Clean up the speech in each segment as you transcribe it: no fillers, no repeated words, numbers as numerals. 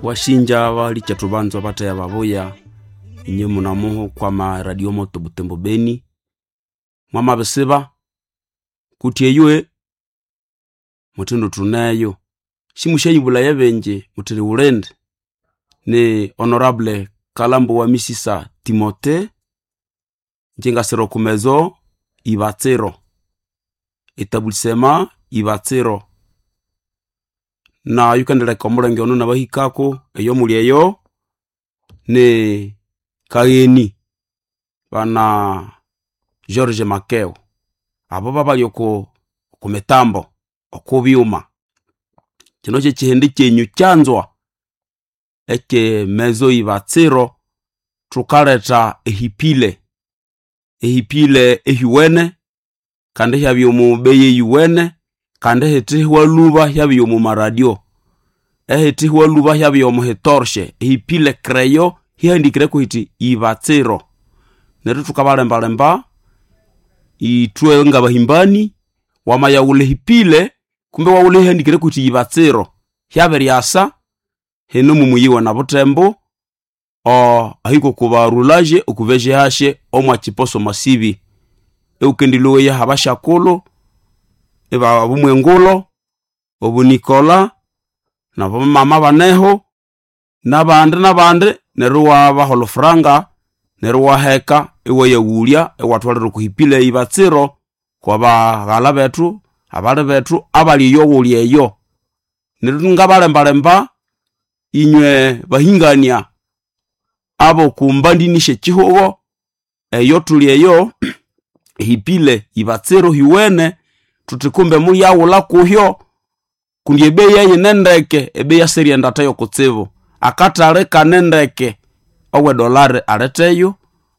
Washinja balikya tubanzwa bataya babuya inye munamuho kwama Radio Moto Butembo Beni. Mwamabisiba kuti eywe muthindu tuneyo simushayibulaya benje muthiri wulindi ni Honorable Kalambo wa Misisa Timote njingasira okumezo Ibatsiro etabulisema Ibatsiro na yukendeleka omulenge ono nabahikako eyo muli eyo ni Kagheni bana George Makeo abo babali oku kumitambo okubyuma kino kyekihindi kyenyu kyanzwa ekyemezo Ibatsiro thukaletha ehipile ehipile ehiwene kandi hyabya omu beyi eyiwene kandi ehithi hwalhuba hyabya omu maradio ehithi hwalhuba hyabya omu hitorshe ehipile creyo hihandikireko hiti Ibatsiro neryo thukabalembalemba ithwe ngabahimbani wamayaghulha ehipile kumbe waghulha ehihandikireko huthi Ibatsiro hyabiryasa hino mumuyi na Butembo ahiko oku barulage oku VGH omwa Masibi eukendiloweya abashakulhu ibabumwengulo obunikola nabamama baneho nabandi nabandi neryo iwabaha olufuranga neryo iwaheka iwayaghulya iwathwalira okuhipile Ibatsiro kwabaghalha bethu abali bethu abali eyo ghuli eyo neryo ngabalembalemba inywe bahingania abokumbandini syekyihugho eyo thuli eyo ehipile Ibatsiro hiwene thuthi kumbe muyaghulha kuhyo kundi ebeyi yayine ndeke ebeyi yasirienda theyo kutsibu akathali kane ndeke owedolari aletheyo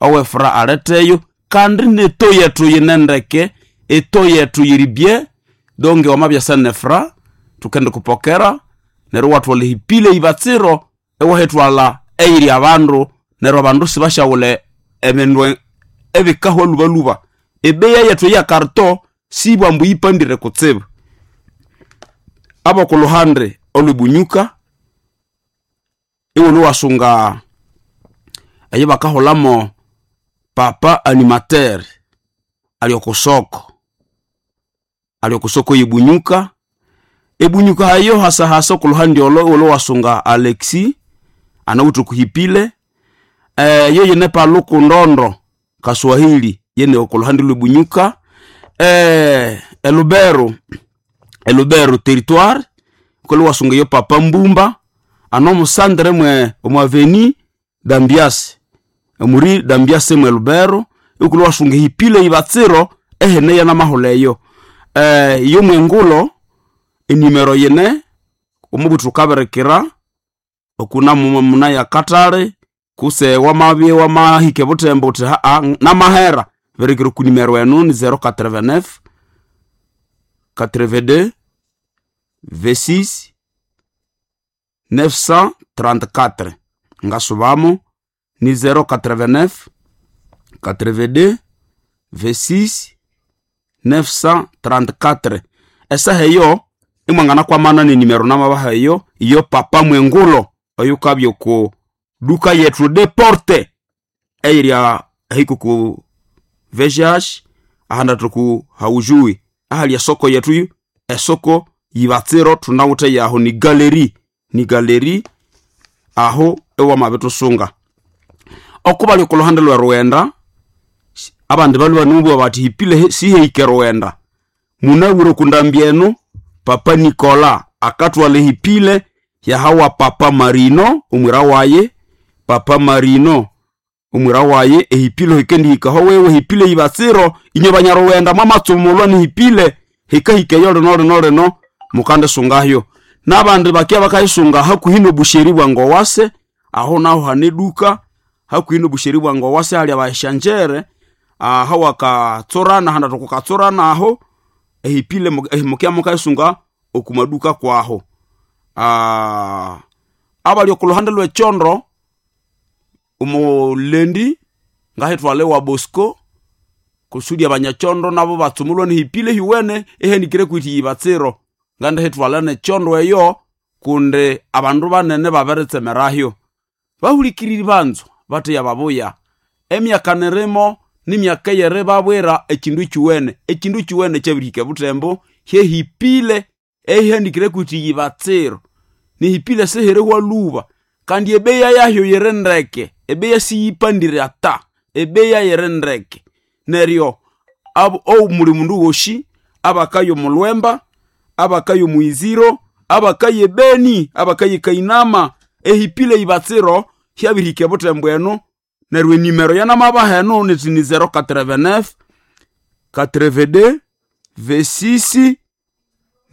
owefura aletheyo kandi neto yethu yine ndeke eto yethu yiri bye donge wamabyasa nefura thukendikupokera neryo iwathwalha ehipile Ibatsiro iwahithwalha eyiri abandu neryo abandu sibasyaghulha ebindu ebikahwa lhubalhuba ebeyi yethu eyakarito sibwambu yipandire kutsibu abokuluhande olwebunyuka iwulhu wasunga eyibakahulamo papa animateur ali okusoko ali okusoko yebunyuka ebunyuka hayo hasahasa okuluhande olo iwulhu wasunga Alexi anawithe okuhipile yoyene Paluku Ndondo Kaswahili yene okuluhande lwebunyuka elubero elubero territoire kuli wasunga yo papa Mbumba ano musandre mwe omu aveni Dambiase omuri Dambiase mwe Lubero ikuli wasunga ehipile Ibatsiro ehene yanamahulha eyo yo mwengulo enimero yine omubuthu thukabirikira okuna munaya katale kuse wamabye wamahika ebuthembo uthi haa namahera birikira oku nimero enu ni 089 82 26 934 ngasubamo ni 089 82 26 934 esaha eyo imwangana kwamana nenimero namabaha eyo iyo papa mwengulo oyukabya oku duka yethu deporte eyirya ahiko ku VGH ahanda thuku haujui ahali esoko yethu esoko Ibatsiro thunawithe yaho ni galeri ni galeri aho ewamabithusunga okubali okuluhande lwe Rughenda abandi balhwe banimubugha bathi hipile sihike Rughenda munabwire okundambi enu papa Nikola akathwalha ehipile yahawa papa Marino omwira waye papa Marino omwira waye ehipile hikendihikaho wewe hipile Ibatsiro inye banyarughenda mwamatsumulwa nihipile hikahika eyo lino lino lino mukandisungayo nabandi bakya bakayisunga hakuhi nobusheri bwa Ngowase aho naho hane duka hakuhi nobusheri bwa Ngowase hali abaeshanjere aho wakatsorana handa tukukatsorana aho ehipile mukya mukayisunga okumaduka kwaho abali okuluhande lwekyondo omulendi ngahithwala ewa Bosco kusudi abanyakyondo nabo batsumulwa nehipile hiwene ehanikire kwiti Ibatsiro ngandihithwala nekyondo eyo Kundi abandu banene babiritsemerahyo. Bahulikiriri banzo bateya babuya. Emyaka nirimo nimyaka eyeribabwira ekindu kyuwene. Ekindu kyuwene kyabirihika ebutembo hyehipile eyihandikire kuti yibatsiro. Nihipile sihirihwa lhuba kandi ebeya yahyo yiri ndeke. Ebeya siyipandire ata. Ebeya yiri ndeke. Neryo omuli mundu wosi abakaya omulhwemba, abakaya omwiziro, abakaya ebeni, abakaya ekainama, ehipile yibatsiro hyabirihika ebutembo eno. Neryo enimero yanamabaha eno niti ni 089 82 26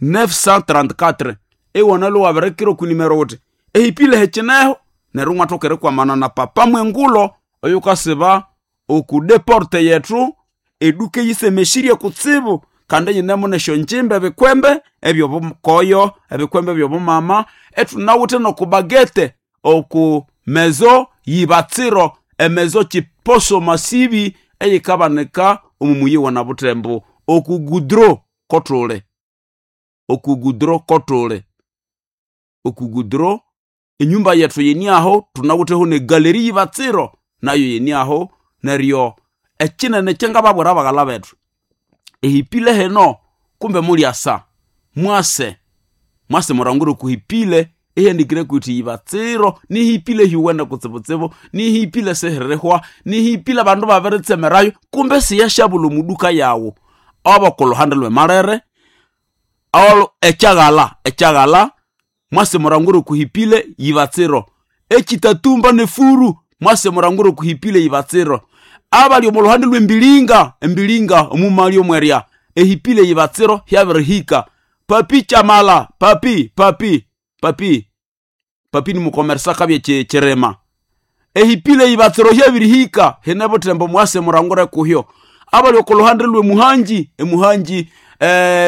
934. Iwanalwe wabirikira oku nimero wuthi ehipile hekineho neryo imwathoka erikwamana na papa mwengulo oyukasiba oku deporte yethu eduka eyisemesirye kutsibu kandi eyinemo nesyonjimba ebikwembe ebyobukoyo, ebikwembe ebyobumama, ethunawithe nokubagete oku mezo yibatsiro, emezo kiposo masibi eyikabanika omu muyi wa Nabutembo oku gudro kothule. Oku gudro kothule. Oku gudro enyumba yethu yeniaho thunawitheho negaleri yibatsiro nayo yeniaho neryo ekinene kyangababwira baghala bethu ehipile heno kumbe mulyasa mwase mwase murangire okuhipile ihendikire kuti yibatsiro nihipile hiwene kutsibutsibu nihipile sihirihwa nihipile abandu babiritsemerayo kumbe siyashabula omuduka yawu abokuluhande lwemalere olo ekyaghala ekyaghala mwase murangire okuhipile yibatsiro ekitatumba nefuru mwase murangire okuhipile yibatsiro abali omu luhande lwembilinga embilinga omumali omwerya ehipile yibatsiro hyabirihika papi kyamala papi papi papi papi ni mukomeresa kabye kyirima ehipile yibatsiro hyabirihika hine butembo mwase murangure kuhyo abali okuluhande lwe muhanji emuhanji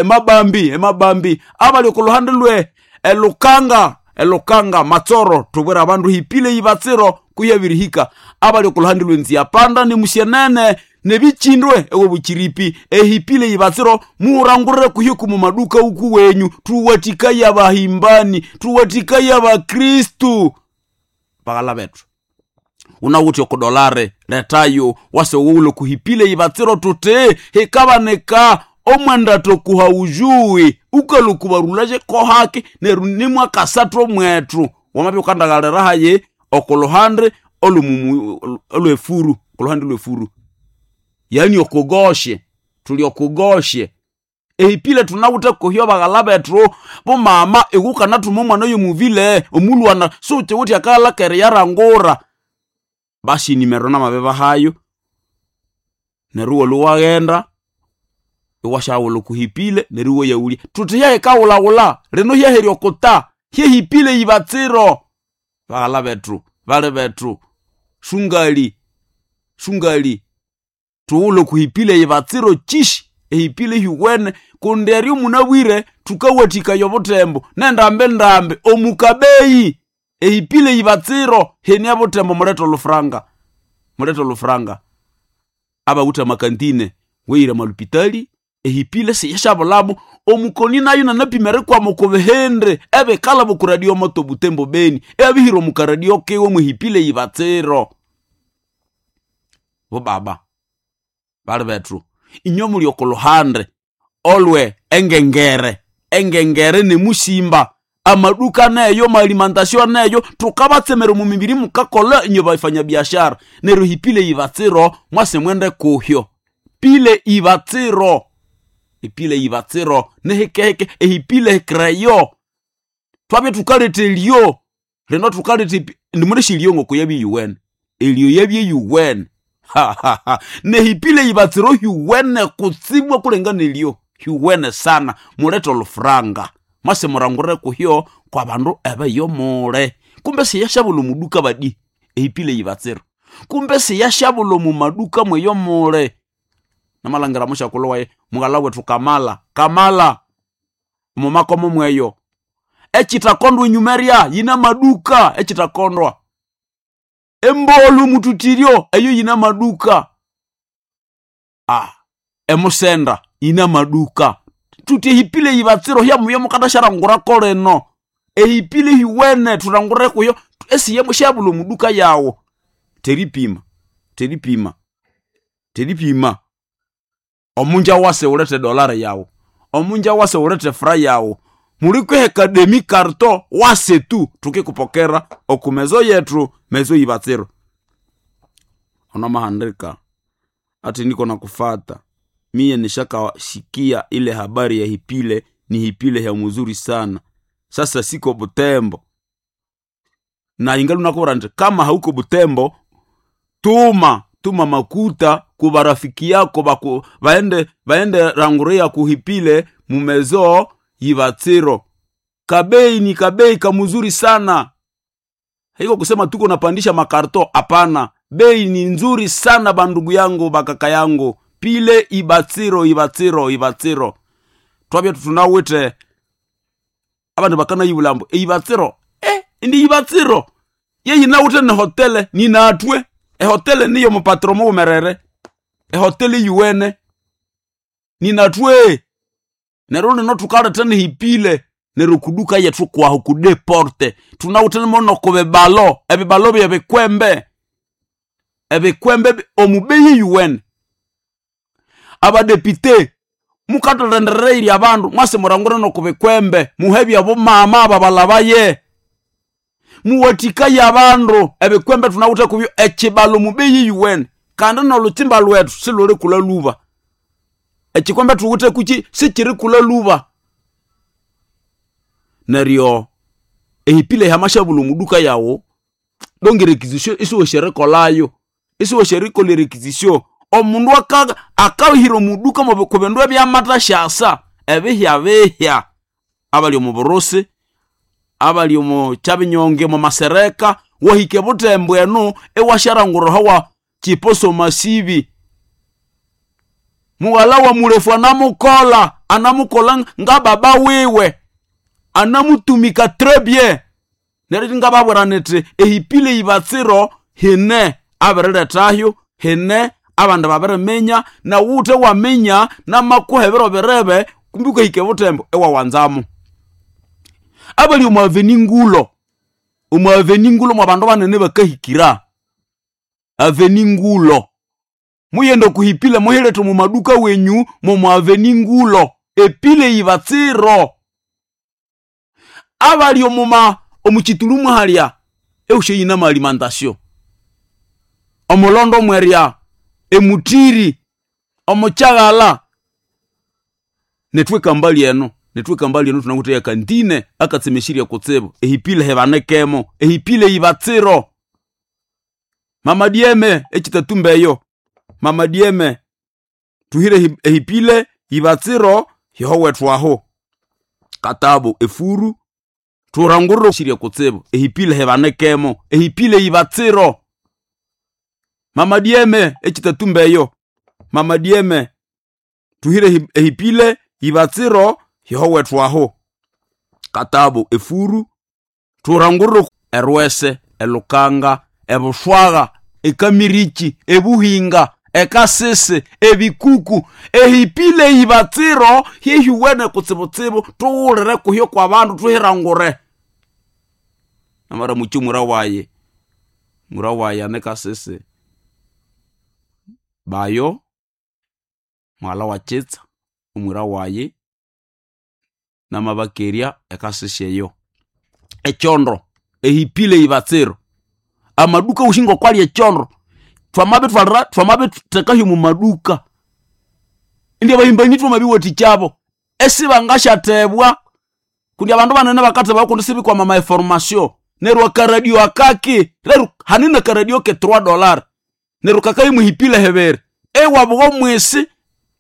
mabambi emabambi abali okuluhande lwe elukanga elukanga matsoro tubwira abandu hipile yibatsiro kuhyabirihika abali okuluhande lwenziapanda nemusyenene nebichindwe ewe buchiripi ehipile yibatsiro muurangurire kuhyo kumu maduka uku wenyu tuwatikaya bahimbani tuwatikaya bakristu baghala bethu unawuthi okudolare letayo wase woulo kuhipile yibatsiro tuti hikabanika omwenda tokuha ujuwi ukalukubarulaje kohaki neru nimwakasathu omwethu wamabya ukandaghalira haye okuluhande olumumu olwefuru okuluhande lwefuru yani okugoshe tuli okugoshe ehipile thunawithe kuhyo baghala bethu bomama iwukanathuma omwana yomuvile omulwana siwukiwuthi akalha yarangura basi nimero namabibahayo neryo iwalwe waghenda iwasyaghulha okuhipile neryo iwayaghulya thuthi hyahikawulawula lino hyaherya okuta hyehipile yibatsiro baghala bethu bali bethu sungali sungali thughulhe okuhipile yibatsiro kyishi ehipile hyuwene kundi eryo munabwire thukawathikaya obuthembo nendambi ndambi omukabeyi ehipile yibatsiro henia buthembo mulethe olufuranga mulethe olufuranga abawithe amakantine weyire amalupitali ehipile siyashabulamo omukoni nayo nanapima erikwama okubihindi ebikalha okuradio moto butembo beni ebihira omukaradio kiwe mwehipile yibatsiro bobaba bali bethu inywe muli okuluhande olwe engengere engengere nemusimba amaduka neyo maalimentation neyo thukabatsemera omu mibiri mukakolha inywe bafanyabiashara neryo hipile yibatsiro mwase mwende kuhyo pile ibatsiro ipile ibatsiro nihikehike ehipile kreyo twabya thukaletha elyo lino thukaletha nimulesha elyo ngoko yabya yuwene elyo yabya yuwene nehipile ibatsiro hyuwene kutsibwa kulengana elyo hyuwene sana mulethe olufuranga mwase murangurire kuhyo kwa bandu ebeyo mule kumbe siyashabula omuduka badi ehipile ibatsiro kumbe siyashabula omu maduka mweyo mule namalhangira mushakulhu waye mughala wethu kamala kamala omumakomo mweyo ekitakondwa enyuma erya yina maduka ekitakondwa embolu mututiryo eyo yina maduka emusenda yina maduka tuti ehipile yibatsiro hyamuya mukandasharangurako lino Ehipile hiwene tulangure kuyo esiyemo shabula muduka yawo. Teripima, teripima, teripima. Omunja wase ulete dolari yawo, omunja wase ulete fra yawo. Mulikweheka demi karto wase tu tukikupokera okumezo yetu mezo ibatsiro. Onamahandika ati niko nakufata miye nishakashikia ile habari ya hipile, ni hipile ya mzuri sana. Sasa siko Butembo na ingali nakubwira nti kama hauko Butembo tuma tuma makuta ku barafiki yako baku, baende baende ranguria kuhipile mumezo yibatsiro. Kabei ni kabei kamuzuri sana. Haiko kusema tuko napandisha makarto, hapana. Bei ni nzuri sana bandugu yangu bakaka yangu. Pile ibatsiro ibatsiro ibatsiro. Twabya tunawite abandu bakana yibulambo ibatsiro. Indi ibatsiro. Yeyi nawute ne hotele ni natwe. Ehotele niyo mupatro mumerere. Ehotele yuwene. Ni natwe. Nerone no tukaleta ni hipile nero kuduka yetu kwaho kudeporte. Tunawute mono kubebalo, ebibalo bya bikwembe. Ebikwembe omubeyi yuwene. Abadepite mukatolendereire abandu mwase murangure no kubikwembe muhebya bomama ababalabaye muwatikaye abandu ebikwembe tunawuthe kubyo ekibalo mubeyi yuwene kandi nolutsimba lwethu siluli kula luba ekikwembe tuwuthe kuki sikiri kula luba. Neryo ehipile hamashabula omuduka yawo donge requisition isiwesherikolayo isiwesherikola requisition omundu akahira omuduka ku bindu ebyamata shasa ebihya bihya abali omu burusi abali omu kyabinyonge omu masereka wahike butembo eno ewasharanguraho wa chiposo masibi mughala wa mulefu anamukola anamukola nga baba wiwe anamutumika très bien. Neryo ngababwira niti ehipile ibatsiro hine abirilethahyo hine abandu babiriminya na wuthe waminya namakuha ebiro birebe kumbi ukahika ebutembo ewawanzamu. Abali omu aveni ngulo, omu aveni ngulo mwa bandu banene bakahikira aveni ngulo muyende okuhipile muhilethe omu maduka wenyu momu aveni ngulo epile ibatsiro. Abali omuma omuchitulumu halya eushe yina maalimentation omulondo mwerya emutiri omukyaghala netweka mbali eno netweka mbali eno tunakuteya kantine akatsemeshiria kutsibu ehipile hebanekemo ehipile ibatsiro. Mama dieme ekitatumbeyo mama dieme tuhire ehipile ibatsiro yihowethu katabu efuru turanguriro shiria kutsibu ehipile hebanekemo ehipile ibatsiro. Mama dieme ekitatumbeyo mama dieme tuhire ehipile ibatsiro yihowethu katabu efuru turanguriro erwese elukanga ebushwaga ekamiriki ebuhinga ekasese ebikuku ehipile ibatsiro hihiwene kutsibutsibu tuwulire kuhyo kwa bandu tuhirangure. Namara muchi mura waye anekasese bayo mwala wa chitsa omwira waye namabakeria ekasese eyo ekyondo ehipile ibatsiro amaduka ushingo kwali ekyondo twamabitwalira twamabithekahyo mu maduka indi abayimbanyi twamabiwathikya esibangashathebwa kundi abandu banene bakatheba kundi sibikwama ma information neryo akaradio akaki leru hanina karadio ke $3 neryo kakayimuhipile hebere ewabugho mwisi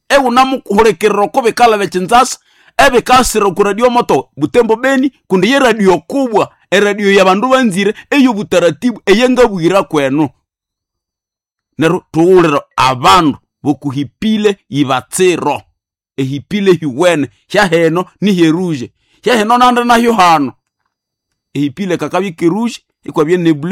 ewunamuhulikirira oko bikalha bekinzasa ebikasira oku radio moto Butembo Beni kundi ye radio kubwa eradio yabandu banzire eyobutaratibu eyangabwira kwenu. Neryo tuwulira abandu bokuhipile ibatsiro ehipile hiwene hyaheno ni heruje hyaheno nande nahyo hano ehipile kakabya keruje ikwabya nebule.